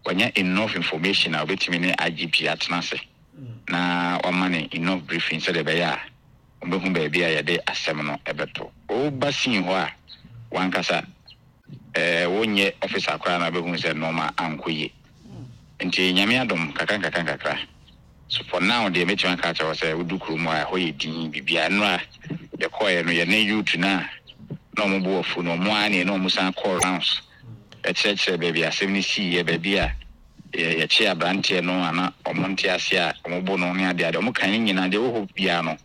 Wanya enough information a obetumi ne IGP atena ase na wama no enough briefing sɛdeɛ ɛbɛyɛ a wɔbɛhu baabi a yɛde asɛm no bɛto. Woba scene hɔ a, w'ankasa eh, wonyɛ officer koraa na wobɛhu sɛ nnoɔma ankɔ yie. Nti Nyame adom, kakra nkakra nkakra. So for now deɛ mɛtumi aka akyerɛ wo sɛ wodu kurom hɔ a ɛhɔ yɛ dinn, biribiara. Nnora yɛkɔeɛ no, yɛne youth no a na wɔn bo afu no, wɔn ara ne yɛne wɔn san kɔɔ rounds kyerɛkyerɛ baabi a asɛm no siiɛ, baabi a yɛkyee aberanteɛ no a na wɔn nte aseɛ a wɔbo no ne adeade. Wɔn kan ne nyinaa, deɛ ɛwɔ hɔ biara no,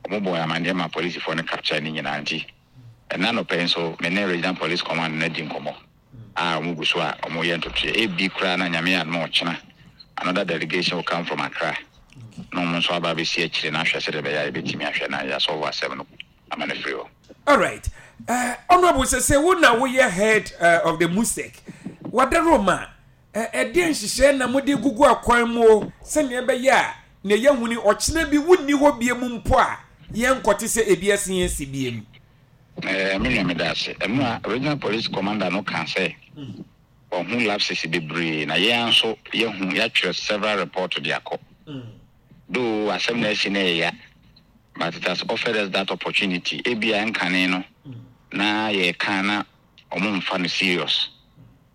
wɔn bɔɔ amanneɛ ma polisifoɔ no capture ne nyinaa. Nti ɛnnɛ anɔpa yi nso, me ne Regional Police Command no adi nkɔmmɔ a wɔn gu so a wɔyɛ ntotoeɛ. Ebi koraa na Nyame yɛ adom a ɔkyena another delegation will come from Accra na wɔn nso aba abɛsi akyire na ahwɛ sɛdeɛ ɛbɛyɛ a yɛbɛtumi ahwɛ na yɛasɔlvo asɛm no ama no afiri hɔ. Alright eh, Honourable sese wo na woyɛ head eh, of the MUSEC Wadaroma eh, ɛdeɛ nhyehyɛɛ na mode gugu akwan mu o sɛnea ɛbɛyɛ a nea yɛahu ni ɔkyena bi wonni hɔ bie mu mpo a yɛnkɔte sɛ ebi asen asi bie mu. Eh, me nua meda ase. Ɛno a Regional Police Commander no kaa sɛ wahu lapses bebree na yɛn ara nso yɛahu, yɛatwerɛ several report de akɔ. Though asɛm na asi no ɛyɛ ya but it has offered us that opportunity. Ebia nkane no na yɛka na wɔn mfa no serious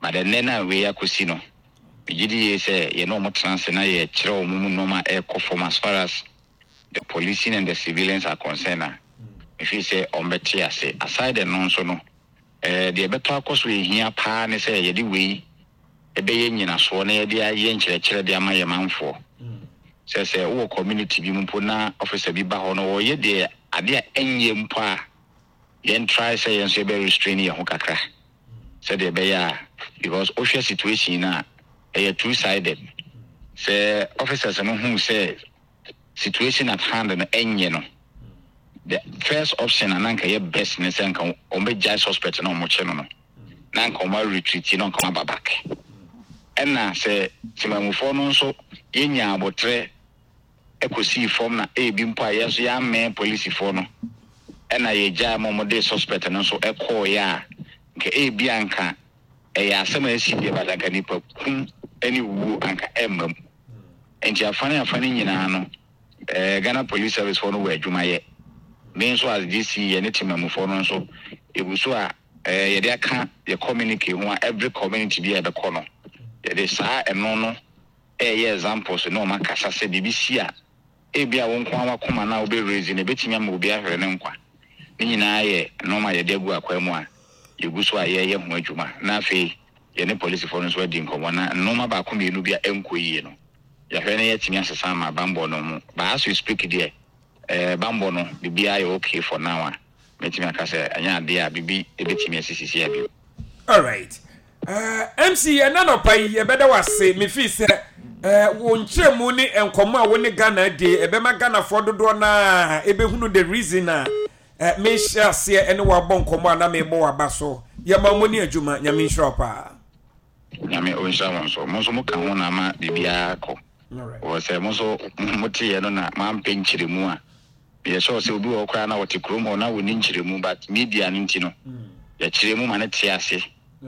but ɛnnɛ na wei akɔsi no, megye di yie sɛ yɛne wɔn tena ase na yɛkyerɛ wɔn mu nneɛma a ɛrekɔ fam as far as the policing and the civilians are concerned a, me feel sɛ wɔn bɛte ase. Aside ɛno nso no, eh, deɛ ɛbɛtɔ akɔ so ɛhia paa ne sɛ yɛde wei ɛbɛyɛ nyinasoɔ na yɛde ayɛ nkyerɛkyerɛ de ama yɛn manfoɔ. Sɛ sɛ wowɔ community bi mu mpo na officer bi ba hɔ na ɔyɛ deɛ adeɛ a ɛnyɛ mpo a, yɛn try sɛ yɛn nso yɛbɛ restrain yɛn ho kakra sɛdeɛ ɛbɛyɛ a, because wohwɛ situation no a ɛyɛ two sided. Sɛ officers no hu sɛ situation at hand no ɛnyɛ no, the first option a na nka ɛyɛ best ne sɛ nka wɔn bɛgyae suspect na wɔn kye no no, na nka wɔn aretreat na nka wɔn aba back. Ɛna sɛ temamufoɔ no nso yɛnya abotrɛ kɔsii fam na ebi mpo a yɛn nso yɛammɛn polisifoɔ no ɛna yɛgyae ma wɔde suspect no nso kɔɔeɛ a, nka ebi anka ɛyɛ asɛm a asi deɛ, but anka nipa kum ne wuo anka ɛmma mu. Nti afa ne afa no nyinaa no, eh, Ghana Police Service foɔ no wɔ adwuma yɛ. Me nso as DC yɛne temamufoɔ no nso yɛgu so a eh, yɛde aka yɛ communique ho a every community bi a yɛbɛkɔ no yɛde saa ɛno no ɛyɛ examples ne wɔn akasa sɛ biribi si a ebia wo nko ara w'akoma no a wobɛ raise no ebetumi ama obi ahwere ne nkwa. Ne nyinaa yɛ nnoɔma a yɛde agu akwan mu a yɛgu so a yɛreyɛ ho adwuma na afei yɛne polisifoɔ no nso adi nkɔmmɔ na nnoɔma baako mmienu bi a ɛnkɔ yie no yɛahwɛ na yɛatumi asesa ama bammɔ no mu. But as we speak deɛ eh, bammɔ no biribiara yɛ okay for now a mɛtumi aka sɛ ɛnyɛ adeɛ a biribi ɛbɛtumi asi sisi a bio. Alright. Uh, MC, ɛna nɔpa yi yɛbɛda wo ase. Mefii sɛ uh, wo nkyerɛmu ne nkɔmmɔ a wo ne Ghana di ɛbɛma Ghanafoɔ dodoɔ no a ɛbɛhunu the reason a uh, mehyɛ aseɛ ɛne wabɔ nkɔmmɔ a na mebɔ waba so. Yɛma mo ne adwuma. Nyame nhyira wo paa. Nyame ɔnhyira mo nso. Mo nso moka ho na ama biribiara kɔ. Wɔ sɛ mo nso moteeɛ no na moampɛ nkyerɛmu a, meyɛ sure sɛ obi wɔ hɔ koraa na ɔte kurom hɔ na ɔnni nkyerɛmu, but media no nti no yɛkyerɛ mu ma no te ase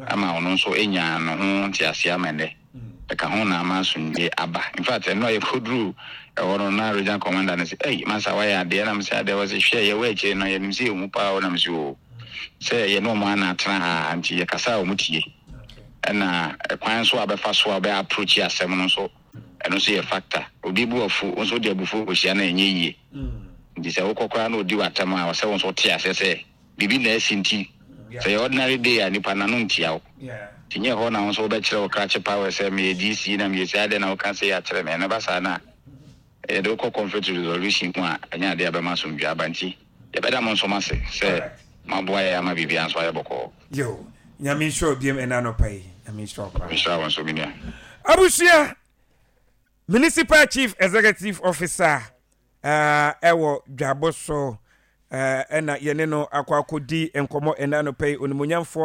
ama ɔno nso nya ne ho nteaseɛ ama ɛnnɛ ɛka ho na ama asomdwie aba. In fact, ɛno a yɛkɔduruu ɛhɔ no na regional commander no sɛ, ei masa wayɛ adeɛ, na mesɛ adeɛ, wɔse hwɛ yɛwɔ akyire no yɛnim sɛ yɛhu paa o, na mesɛ oo sɛ yɛne ɔmo ana atena ha nti yɛkasa a ɔmo tie, ɛna ɛkwan nso a bɛfa so a bɛ approach asɛm no nso ɛno nso yɛ factor. Obi bo afu, wo nso wode abufuo kɔhyia no a ɛnyɛ yie. Nti sɛ wokɔ koraa na ɔdi w'atɛm a, ɔsɛ wo nso wote aseɛ sɛ biribi na asi nti sɛ ɛyɛ ordinary day a nipa n'ano ntia wo. Nti nyɛ hɔ na wo nso wobɛkyerɛ wo krakye power sɛ meyɛ DC na meyɛ sei, adɛn na woka sei akyerɛ me. Ɛno ba saa no a, yɛde wo kɔ conflict resolution mu a, ɛnyɛ adeɛ a ɛbɛma asomdwoeɛ aba. Nti yɛbɛda mo nso mo ase sɛ moaboa yɛn ama biribiara nso ayɛ bɔkɔɔ. Yo, Nyame nhyira wo biom ɛna anɔpa yi. Nyame nhyira wo paa. Nhyira wo nso me nua. Abusua, Municipal Chief Executive Officer ɛwɔ Dwabo so ɛna yɛne no akɔ akɔdi nkɔmmɔ ɛna anɔpa yi, onimuonyamfoɔ.